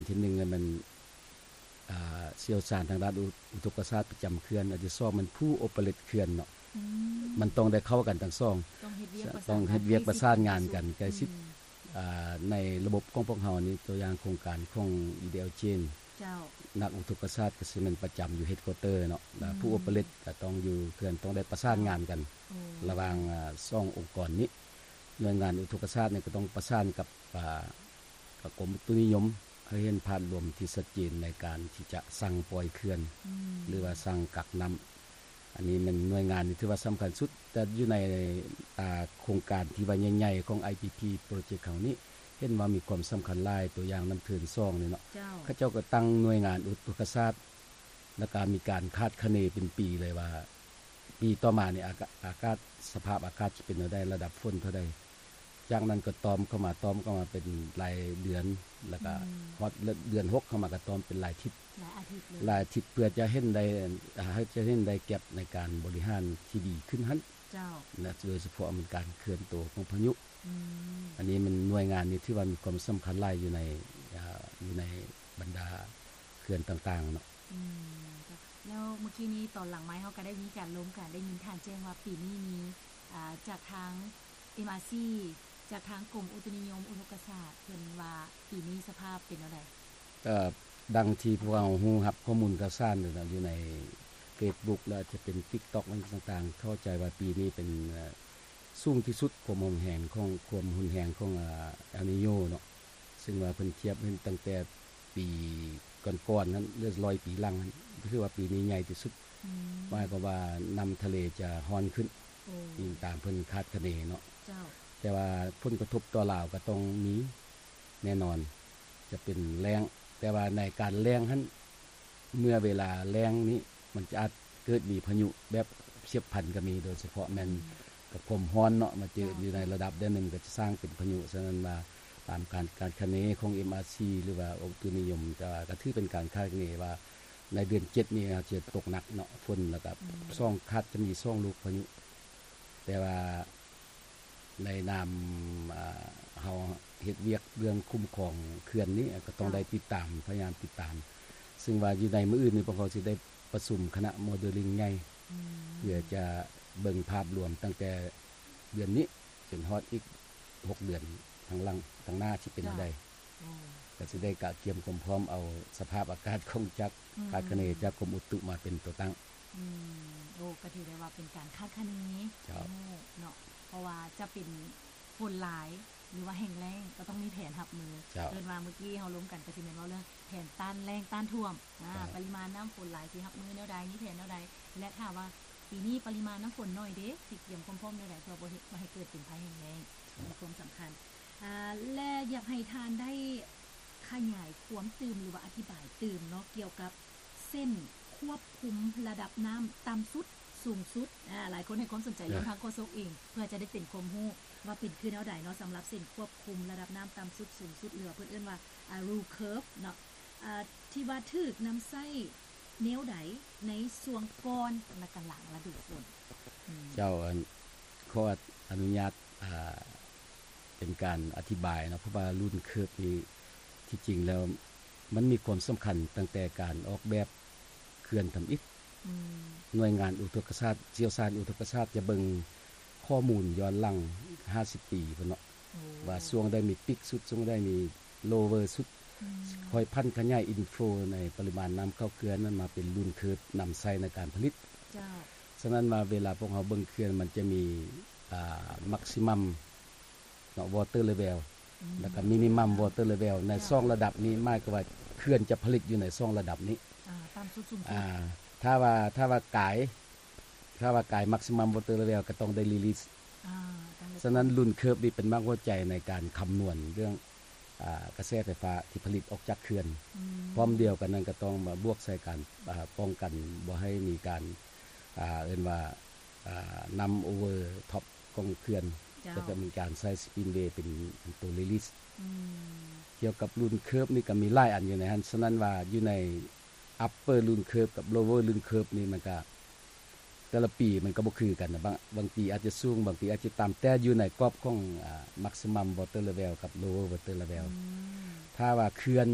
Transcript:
ທີໜຶ່ງແມ່ນ ອ່າ ຊ່ຽວຊານທາງດ້ານອຸ ອຸທົກກະສາດປະຈຳເຂື່ອນ, ອັນທີສອງແມ່ນຜູ້ໂອເປເຣດເຂື່ອນເນາະ. ອືມ ມັນຕ້ອງໄດ້ເຂົ້າກັນທັງສອງ, ຕ້ອງເຮັດວຽກປະສານ ຕ້ອງເຮັດວຽກປະສານງານກັນໃກ້ຊິດ. ອືມ ອ່າ ໃນລະບົບຂອງພວກເຮົານີ້ ຕົວຢ່າງໂຄງການຂອງ ອີ ດີ ແອລ ເຈນ ເຈົ້າ ນັກອຸທົກກະສາດກໍຊິແມ່ນປະຈຳຢູ່ເຮັດຄວອເຕີເນາະ, ແລ້ວຜູ້ໂອເປເຣດກໍຕ້ອງຢູ່ເຂື່ອນ, ຕ້ອງໄດ້ປະສານງານກັນ ໂອ້ ລະຫວ່າງ ອ່າ ສອງອົງກອນນີ້. ໜ່ວຍງານອຸທົກກະສາດນີ້ກໍຕ້ອງປະສານກັບ ອ່າ ກັບກົມອຸຕຸນິຍົມ ໃຫ້ເຫັນພາບລວມທີ່ຊັດເຈນໃນການທີ່ຈະສັ່ງປ່ອຍເຂື່ອນ ອືມ ຫຼືວ່າສັ່ງກັກນ້ຳ. ອັນນີ້ແມ່ນໜ່ວຍງານທີ່ຖືວ່າສຳຄັນສຸດ, ແຕ່ຢູ່ໃນ ອ່າ ໂຄງການທີ່ວ່າໃຫຍ່ໆຂອງ ໄອ ພີ ພີ ໂປຣເຈັກເຮົານີ້ ເຫັນວ່າມີຄວາມສຳຄັນຫຼາຍ, ຕົວຢ່າງນ້ຳເທີນສອງນີ້ເນາະ, ເຈົ້າ ເຂົາເຈົ້າກໍຕັ້ງໜ່ວຍງານອຸທົກກະສາດ ແລ້ວກໍມີການຄາດຄະເນເປັນປີເລີຍວ່າ ປີຕໍ່ມານີ້ ອາກາດ ອາກາດ ສະພາບອາກາດຊິເປັນແນວໃດ, ລະດັບຝົນເທົ່າໃດ. ຈາກນັ້ນກໍຕ່ອມເຂົ້າມາ, ຕ່ອມເຂົ້າມາເປັນລາຍເດືອນ, ແລ້ວກໍ ອືມ ຮອດເດືອນຫົກເຂົ້າມາກໍຕ່ອມເປັນລາຍທິດ, ລາຍອາທິດເລີຍ, ລາຍອາທິດ ເພື່ອຈະເຫັນໄດ້ ອ່າ ໃຫ້ຈະເຫັນໄດ້ແກັບໃນການບໍລິຫານທີ່ດີຂຶ້ນຫັ້ນ. ເຈົ້າ ແລະ ໂດຍສະເພາະແມ່ນການເຄື່ອນໂຕຂອງພາຍຸ. ອືມ ອັນນີ້ມັນໜ່ວຍງານນີ້ຖືວ່າມີຄວາມສຳຄັນຫຼາຍຢູ່ໃນ ອ່າ ຢູ່ໃນບັນດາເຂື່ອນຕ່າງໆເນາະ. ອືມ ເຈົ້າ ແລ້ວມື້ກີ້ນີ້ຕອນຫຼັງໄມເຮົາກໍໄດ້ມີການລົມກັນ, ໄດ້ຍິນທ່ານແຈ້ງວ່າປີນີ້ມີ ອ່າ ຈາກທາງ ເອັມອາຊີ ຈາກທາງກົມອຸຕຸນິຍົມອຸທົກກະສາດ ເພິ່ນວ່າປີນີ້ສະພາບເປັນແນວໃດ? ກໍດັ່ງທີ່ພວກເຮົາຮູ້ຮັບຂໍ້ມູນຂ່າວສານຢູ່ໃນເຟສບຸກ ແລະ ອາດຈະເປັນຕິກຕັອກ ຫຍັງຕ່າງໆ, ເຂົ້າໃຈວ່າປີນີ້ເປັນ ເອີ ສູງທີ່ສຸດ ຄວາມຮຸນແຮງຂອງ ຄວາມຮຸນແຮງຂອງ ອາ ເອລນີໂຍເນາະ, ເຊິ່ງວ່າເພິ່ນທຽບເຫັນຕັ້ງແຕ່ປີກ່ອນໆນັ້ນ ຫຼື ຮ້ອຍປີຫຼັງນັ້ນ, ຖືວ່າປີນີ້ໃຫຍ່ທີ່ສຸດ. ອືມ ໝາຍຄວາມວ່ານ້ຳທະເລຈະຮ້ອນຂຶ້ນ, ໂອ້ ອີງຕາມເພິ່ນຄາດຄະເນເນາະ. ເຈົ້າ ແຕ່ວ່າຜົນກະທົບຕໍ່ລາວກໍຕ້ອງມີແນ່ນອນ, ຈະເປັນແລ້ງ, ແຕ່ວ່າໃນການແລ້ງຫັ້ນ ເມື່ອເວລາແລ້ງນີ້ ມັນຈະອາດເກີດມີພາຍຸແບບຊຽບພັນກໍມີ, ໂດຍສະເພາະແມ່ນ ອືມ ກັບຄວາມຮ້ອນເນາະ, ມາເຈີ ເຈົ້າ ຢູ່ໃນລະດັບໃດໜຶ່ງກໍຈະສ້າງເປັນພາຍຸ. ສະນັ້ນວ່າຕາມການຄາດຄະເນຂອງ ເອັມອາຊີ ຫຼືວ່າອຸຕຸນິຍົມ, ແຕ່ວ່າກໍຖືເປັນການຄາດຄະເນວ່າໃນເດືອນເຈັດນີ້ອາດຈະຕົກໜັກເນາະ, ຝົນ ແລ້ວກໍ ອືມ ສອງ ຄາດຈະມີສອງລູກພາຍຸ. ແຕ່ວ່າ ໃນນາມ ອ່າ ເຮົາເຮັດວຽກເລື່ອງຄຸ້ມຄອງເຂື່ອນນີ້ ກໍຕ້ອງ ເຈົ້າ ໄດ້ຕິດຕາມ, ພະຍາຍາມຕິດຕາມ, ເຊິ່ງວ່າຢູ່ໃນມື້ອື່ນນີ້ ພວກເຮົາຊິໄດ້ປະຊຸມຄະນະໂມເດລລິງໃຫຍ່ ອືມ ເພື່ອຈະເບິ່ງພາບລວມຕັ້ງແຕ່ເດືອນນີ້ຈົນຮອດອີກຫົກເດືອນທາງຫຼັງ, ທາງໜ້າຊິເປັນແນວໃດ. ເຈົ້າ ໂອ້ ກໍຊິໄດ້ກະກຽມຄວາມພ້ອມເອົາສະພາບອາກາດຂອງຈາກ ອືມ ຄາດຄະເນຈາກກົມອຸຕຸມາເປັນຕົວຕັ້ງ. ອືມ ໂອ້ ກໍຖືໄດ້ວ່າເປັນການຄາດຄະເນ ເຈົ້າ ໃຫ້ຮູ້ເນາະ, ເພາະວ່າຈະເປັນຝົນຫຼາຍ ຫຼືວ່າແຫ້ງແລ້ງ ກໍຕ້ອງມີແຜນຮັບມື. ເຈົ້າ ເອີ້ນວ່າມື້ກີ້ເຮົາລົມກັນກໍຊິແມ່ນເວົ້າເລື່ອງແຜນຕ້ານແລ້ງຕ້ານຖ້ວມ, ອາ ເຈົ້າ ປະລິມານນ້ຳຝົນຫຼາຍຊິຮັບມືແນວໃດ, ມີແຜນແນວໃດ ແລະ ຖ້າວ່າປີນີ້ປະລິມານນ້ຳຝົນໜ້ອຍເດ ຊິກຽມຄວາມພ້ອມແນວໃດ ເພື່ອບໍ່ເຮັດ ບໍ່ໃຫ້ເກີດເປັນໄພແຫ້ງແລ້ງ ເຈົ້າ ມີຄວາມສຳຄັນ. ອາ ແລະ ຢາກໃຫ້ທ່ານໄດ້ຂະຫຍາຍຄວາມຕື່ມ ຫຼືວ່າອະທິບາຍຕື່ມເນາະ ກ່ຽວກັບເສັ້ນຄວບຄຸມລະດັບນ້ຳຕ່ຳສຸດສູງສຸດ. ອາ ຫຼາຍຄົນໃຫ້ຄວາມສົນໃຈເລື່ອງທາງໂຄສົກເອງ ເພື່ອຈະໄດ້ເປັນຄວາມຮູ້ວ່າເປັນຄືແນວໃດເນາະ ສຳລັບເສັ້ນຄວບຄຸມລະດັບນ້ຳຕ່ຳສຸດສູງສຸດ ຫຼືວ່າເພິ່ນເອີ້ນວ່າ ອ່າ rule curve ເນາະ. ອ່າ ທີ່ວ່າຖືກນຳໃຊ້ແນວໃດໃນຊ່ວງກ່ອນ ແລະ ກະຫຼັງລະດູຝົນ? ອືມ ເຈົ້າ ອັນ ຂໍອະນຸຍາດ ອ່າ ເປັນການອະທິບາຍເນາະ, ເພາະວ່າ rule curve ນີ້ ທີ່ຈິງແລ້ວມັນມີຄວາມສຳຄັນຕັ້ງແຕ່ການອອກແບບເຂື່ອນທຳອິດ. ອືມ ໜ່ວຍງານອຸທົກກະສາດ, ຊ່ຽວຊານອຸທົກກະສາດຈະເບິ່ງຂໍ້ມູນຍ້ອນຫຼັງຫ້າສິບປີພຸ້ນເນາະ. ໂອ້ ວ່າຊ່ວງໃດມີປີກສຸດ, ຊ່ວງໃດມີໂລເວີສຸດ, ອືມ ຄ່ອຍຜັນຂະຫຍາຍ inflow ໃນປະລິມານນ້ຳເຂົ້າເຂື່ອນນັ້ນມາເປັນ rule curve ນຳໃຊ້ໃນການຜະລິດ. ເຈົ້າ ສະນັ້ນວ່າເວລາພວກເຮົາເບິ່ງເຂື່ອນ ມັນຈະມີ ອ່າ maximum ເນາະ water level ອືມ ແລ້ວກໍ minimum water level ໃນ ເຈົ້າ ສອງລະດັບນີ້ ໝາຍຄວາມວ່າເຂື່ອນຈະຜະລິດຢູ່ໃນສອງລະດັບນີ້. ອ່າ ຕ່ຳສຸດສູງສຸດ ອ່າ ຖ້າວ່າ ຖ້າວ່າກາຍ ຖ້າວ່າກາຍ maximum water level ກໍຕ້ອງໄດ້ release. ອ່າ ສະນັ້ນ rule curve ນີ້ເປັນໝາກຫົວໃຈໃນການຄຳນວນເລື່ອງ ອ່າ ກະແສໄຟຟ້າທີ່ຜະລິດອອກຈາກເຂື່ອນ. ອືມ ພ້ອມດຽວກັນນັ້ນກໍຕ້ອງມາບວກໃສ່ການ ອ່າ ປ້ອງກັນບໍ່ໃຫ້ມີການ ອ່າ ເອີ້ນວ່າ ອ່າ ນ້ຳ overtop ຂອງເຂື່ອນ. ເຈົ້າ ກໍຈະມີການໃຊ້ spillway ເປັນ ເປັນຕົວ release. ອືມ ກ່ຽວກັບ rule curve ນີ້ກໍມີຫຼາຍອັນຢູ່ໃນຫັ້ນ. ສະນັ້ນວ່າຢູ່ໃນ upper rule curve ກັບ lower rule curve ນີ້ ມັນກະ ແຕ່ລະປີມັນກໍບໍ່ຄືກັນນະ, ບາງ ບາງປີອາດຈະສູງ, ບາງປີອາດຈະຕ່ຳ, ແຕ່ຢູ່ໃນກອບຂອງ ອ່າ maximum water level ກັບ lower water level. ອືມ ຖ້າວ່າເຂື່ອນ